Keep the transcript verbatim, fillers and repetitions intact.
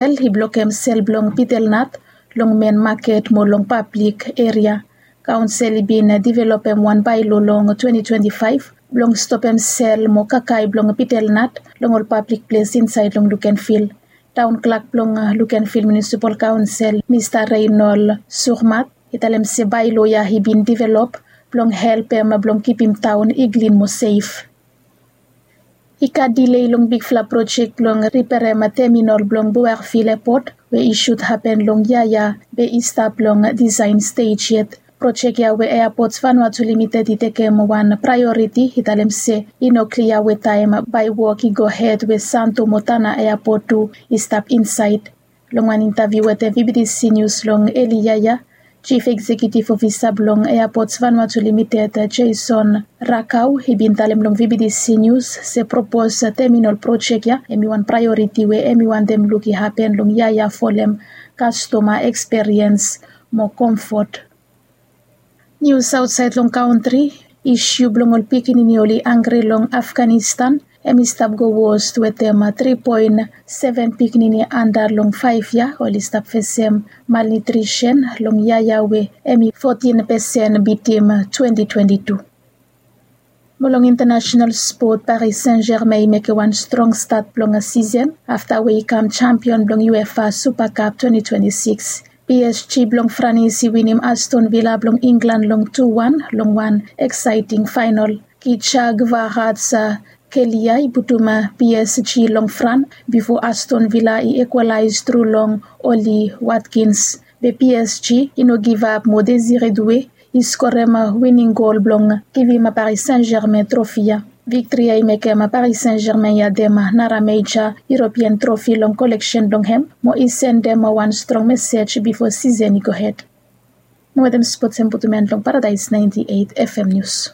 Kaonsel i blokem sel blong pitelnat long men maket mo long pablik eria. Kaonsel i bin developem wan baelo long twenty twenty-five blong stopem sel mo kakae blong pitelnat long ol pablik ples insaed long Lukenvil. Taon klak blong Lukenvil Munisipal Kaonsel, Mista Reinol Surmat, i talem se baelo ya i bin develop blong helpem blong kipim taon i klin mo sef. I gat delay long bigfala projek blong riperem teminol blong Boervil Epot we i sud hapen long yia ya be i stap long disaen stej yet. Projek ya we Airports Vanuatu Limited i tekem wan praeoriti i talem se i no klia we taem bae wok i gohed we Santo mo Tanna Airport tu i stap insaed. Long wan intaviu wetem VBTC News long eli yia ya, Chief Executive Officer blong Airports Vanuatu Limited, Jason Rakau, i bin talem long VBTC News se propose teminol projek ya hemi wan praeoriti we hemi wantem luk i hapen long yia ya folem kastoma eksperiens mo komfot. Nius aotsaed long kantri. Isu blong ol pikinini oli anggri long Afghanistan hemi stap go wos wetem tri poen seven pikinini anda long faef yia oli stap fesem malnutrisen long yia ya we hemi fotin pesen bitim twenty twenty-two. Mo long intanasenal spot, Paris Saint-Germain i mekem wan strong stat blong sisen afta we i kam jampion blong UEFA Super Cup twenty twenty-six. PSG blong Franis i winim Aston Villa blong Inglan long tu wan long wan eksaeting faenol. Khedira Kvaratskhelia i putum PSG long fran bifo Aston Villa i ekwalaes tru long Ollie Watkins. Be PSG i no givap mo Désiré Doué i skorem wining gol blong givim Paris Saint-Germain trofi ya. Viktri ya i mekem Paris Saint-Germain i adem nara meja European trofi long koleksen blong hem mo i sendem wan strong mesej bifo sisen i gohed. Mo wetem spots hem putum en long Paradise ninety-eight FM News.